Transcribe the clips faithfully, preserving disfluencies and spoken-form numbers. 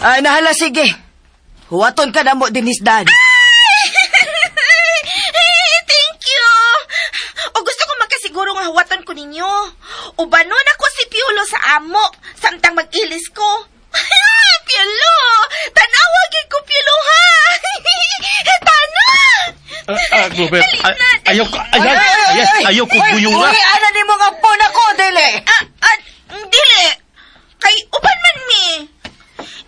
Ay, nahala, sige. Huwaton ka na mo, Dinis Dan. Thank you. O gusto ko makasiguro nga huwatan ko ninyo. Ubanon ako si Piolo sa amo, samtang mag-ilis ko. Piolo! Tanawa gyud ko, Piolo, ha? Tana! Ah, ah, Clover, Dali ay, na, dali. ayaw ko, ay, ay, ay, ayaw ko guyura. Uy, ana ni mo nga po na ko, dili. Ah, ah, dili. Kay uban man mi.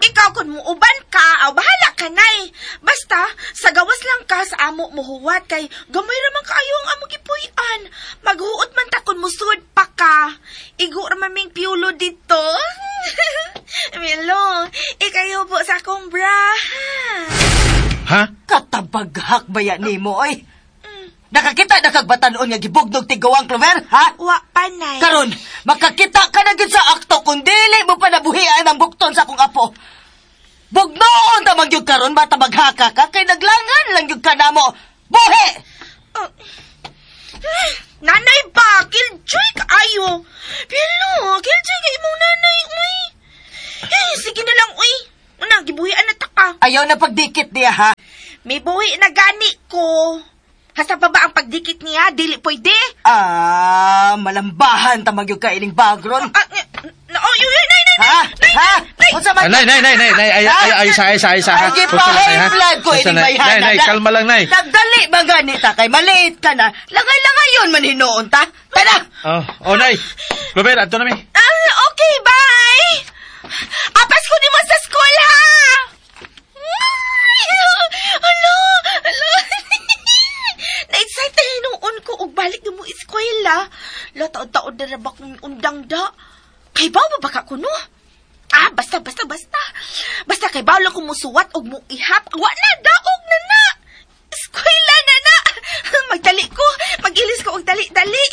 Ikaw kung muuban ka, aw bahala ka nay. Basta sa gawas lang ka sa amo mo huwat kay gamay ra man kaayo ang amo gipuy-an. Maghuot man ta kun musud pa ka. Igo ra man ming piulo dito. Milo, ikayo po sa akong bra. Ha? Katabaghak ba yan nimo, oy? Nakakita na kag batanon nga gibugnog tigawang, Clover, ha? Wa pa nay. Karon, makakita ka na gyud sa akto kung dili mo pa nabuhian ang bukton sa akong apo. Bugnoon ta man gyud karon bata maghaka ka kay naglangan lang gyud ka namo. Buhi! Oh. Nanay ba? Killjoy kaayo. Pero, killjoy kay imong nanay, uy. Eh, sige na lang, uy. Una, gibuhian na ta ka. Ayaw na pagdikit niya, ha? May buhi na gani ko. Hasta pa ba ang pagdikit niya? Dili pwede. Ah, malambahan ta man gyud ka ining bagron. Ah, na, oh, yun, yun, nay, nay, Ha? nay, Ha? nay. Unsa man? Ah, Nay, nay, nay, nay, nay, ay, ay, ay, sa, ay, sa, ay, sa, ha? Ay, Unsa na, nay, ha? gipahay blood ko Unsa ining na? bayhana. Nay, nay, kalma lang, nay. Nagdali ba ganita kay maliit ka na? Langay-langay yun man hinuon ta. Tara! Oh, oh, nay. Clover, adto na mi. Ah, okay, bye. Apas ko nimo sa school, ha? Ay, Hala, hala. Na-excite na hinuon ko og balik na mo eskwela. La, taon-taon na ba kong undang da. Kay ba ba ka kuno? Ah, basta, basta, basta. Basta kay baw lang kung musuwat og muihap. Wa na, daog na na. Eskwela na na. Magdali ko. Magilis ko og dali-dali.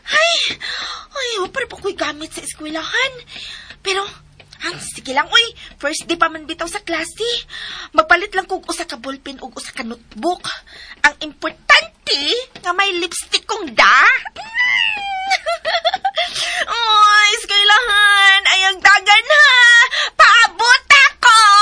Ay, ay, wa pa rin po ko'y gamit sa eskwelahan. Pero, ang sige lang, uy. First day pa man bitaw sa klase. Magpalit lang kog usa ka ballpen ug usa ka notebook. Ang importante nga may lipstick kong da.